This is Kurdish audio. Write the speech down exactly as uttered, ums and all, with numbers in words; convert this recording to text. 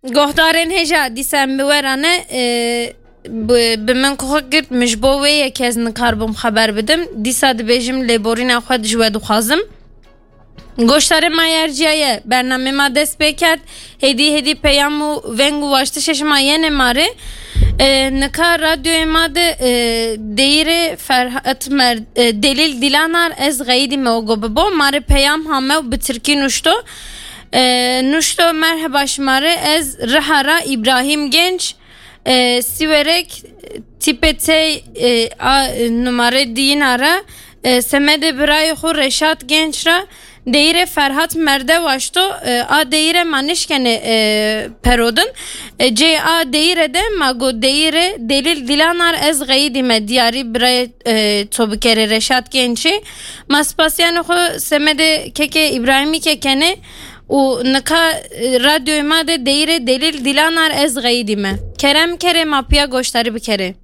Guhdarên hêja, dîsa em bi we re ne, e, bi, bi min ku xwe girt, min ji bo wê yekê ez nikarbûm xeber bidim. Dîsa dibêjim lêborîna xwe ji we dixwazim. Goştarê ma yerciyaye, bernamê ma dest pê kerd. Hêdî hêdî peyam û veng û waştişê şima yenê ma rê. E, nika radyoyê ma de, e, deyîrê Ferhat Mer-, e, Delîl Dilanar ez xeyidî me ogo bibo. Ma rê peyam hame û bi tirkî nuşto. E, nuşto, merheba şima rê, ez Riha ra Îbrahîm Genç, e, Sîwerek, tîpê T, e, a, numare diyina re, e, semedê birayê xwe Reşat Genç re deyîrê Ferhat Merde waşto, e, a deyîre ma nişkene, e, perodin. E, cê a deyîre de ma got deyîre Delîl Dilanar ez xeyidî me diyarî birayê, e, to bikerê Reşat Gençî. Ma spasiyanê xwe semedê kekê Îbrahîmî kekene û nika, e, radyoyê ma de deyîrê Delîl Dilanar ez xeyidî me. Kerem kerê ma piya goştarî bikerê.